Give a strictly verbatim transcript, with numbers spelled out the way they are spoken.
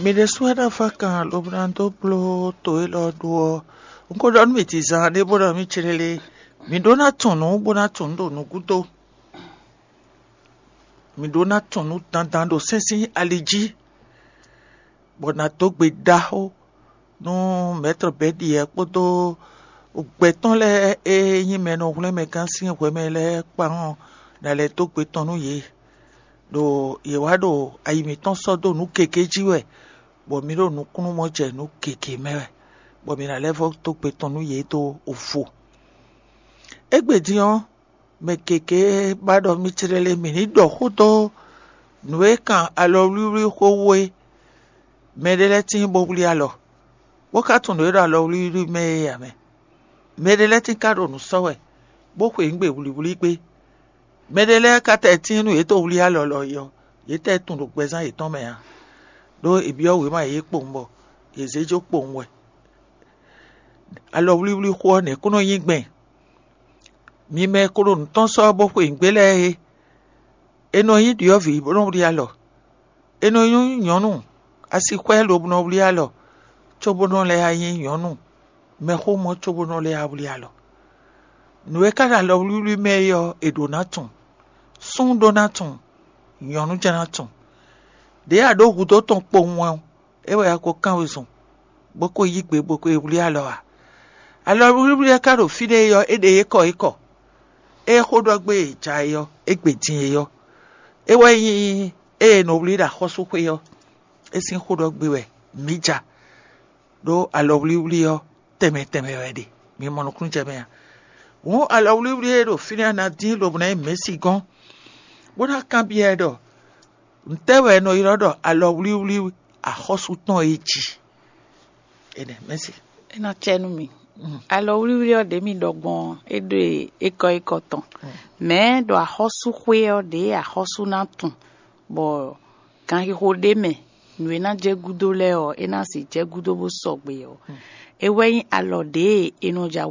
Mi ɖésú wɛ ná fá kan lobo ná dó bló to élɔ́ ɖó ɔ́, un ko ɖɔ nú mi dizan ɖé bó ɖɔ mì céɖélé, mi ɖó ná tunwun nǔ bó ná tunwun nǔ ɖo nǔgúdo. Mi ɖó ná tunwun nǔ dandan ɖo sɛ́nsɛ́n ali jí, bɔ ná dó gbe ɖaxó nú mɛ̌tɔ́ bɛ́ ɖiɛ kpódó gbɛtɔ́ lɛ́ɛ e nyí mɛ e nɔ hwlɛ́n mɛ gán sín hwɛmɛ lɛ́ɛ kpán ɔ́, ná lɛ́ dó gbe tɔn nú yě, ɖo yě wá ɖo ayi mǐtɔn sɔ́ dó nǔ gěgé jí wɛ, bɔ mi ɖo nukúnnú mɔ jɛ nǔ gěgé mɛ wɛ, bɔ mi ná lɛ́ vɔ́ dó gbe tɔn nú yě dó vo. Égbé din ɔ́, mɛ gěgé ba ɖɔ mì céɖélé mǐ ní ɖɔ xó dó nǔ e kan alɔwlíwlí xó wú é. Mɛɖé lɛ́ɛ tíin bó wlí alɔ, bó ka tunwun nǔ e ɖo alɔwlíwlí mɛ é ǎ mɛ. Mɛɖé lɛ́ɛ tíin ka ɖo nǔ sɔ́ wɛ, bó xweyǐgbe wlǐwlí gbé. Mɛɖé lɛ́ɛ ka tɛ tíin nú yě tó wlí alɔ lɔ é ɔ́, yě tɛ tunwun ɖo gbɛzán yětɔn mɛ ǎ, ɖó è byɔ́ wěma yě kpowun bɔ yě zé jó kpowun wɛ. Alɔwlíwlí xó ɔ́ nɛ̌ kún nɔ nyí gbɛn? Mi mɛ e ko ɖo nǔ tɔn sɔ́ bó xweyǐgbe lɛ́ɛ é, è nɔ nyí ɖyɔ̌vǐ bó nɔ wlí alɔ. È nɔ nyí nyɔ̌nu asixwɛ lobo nɔ wlí alɔ, cóbó nɔ lɛ́ nyí nyɔ̌nu mɛxómɔ cóbó nɔ lɛ́ wlí alɔ. Nǔ e ka ɖo alɔwlíwlí mɛ é ɔ́, è ɖǒ ná tunwun. Súnnu ɖó ná tunwun, nyɔ̌nu jɛ́n ná tunwun. Ɖěe a ɖǒ hudó tɔn kpowun wɛ ɔ́, é wɛ a ko kán wezun, bó ko yí gbe bó ko yi wlí alɔ ǎ. Alɔwlíwlí e ka ɖo fínɛ́ é ɔ́, é ɖe yě kɔ é kɔ. Ée xó ɖɔ gbé e ja é ɔ́, é gbe din é ɔ́, é wɛ nyí ée è nɔ wlí ɖo axɔ́súxwé ɔ́, é sín xó ɖɔ gbé wɛ mǐ ja, ɖó alɔwlíwlí ɔ́ tɛnmɛ tɛnmɛ wɛ ɖe, mi mɔ nukúnnú jɛ mɛ a? Hǔn alɔwlíwlí e ɖo fínɛ́ ná dín lobo ná nyí mɛ̌si gɔ́n, bó ná kanbyɔ́ ɛ ɖɔ: Ntɛ́ wɛ è nɔ ylɔ́ ɖɔ alɔwlíwlí axɔ́sú tɔn é jí? Énɛ́, mɛ̌si. É ná cɛ nú mi. Alɔwlíwlí ɔ́ ɖě mi ɖɔ gbɔn ɔ́, é ɖo ékɔ́ ékɔ́ tɔn. Mɛ̌ ɖo axɔ́súxwé ɔ́ ɖě axɔ́sú ná tunwun, bɔ ganxixo ɖé mɛ nǔ e ná jɛ gúdo lɛ́ɛ ɔ́, é ná sixú jɛ gúdo bó sɔgbe ɔ́, é wɛ nyí alɔ ɖě e è nɔ ja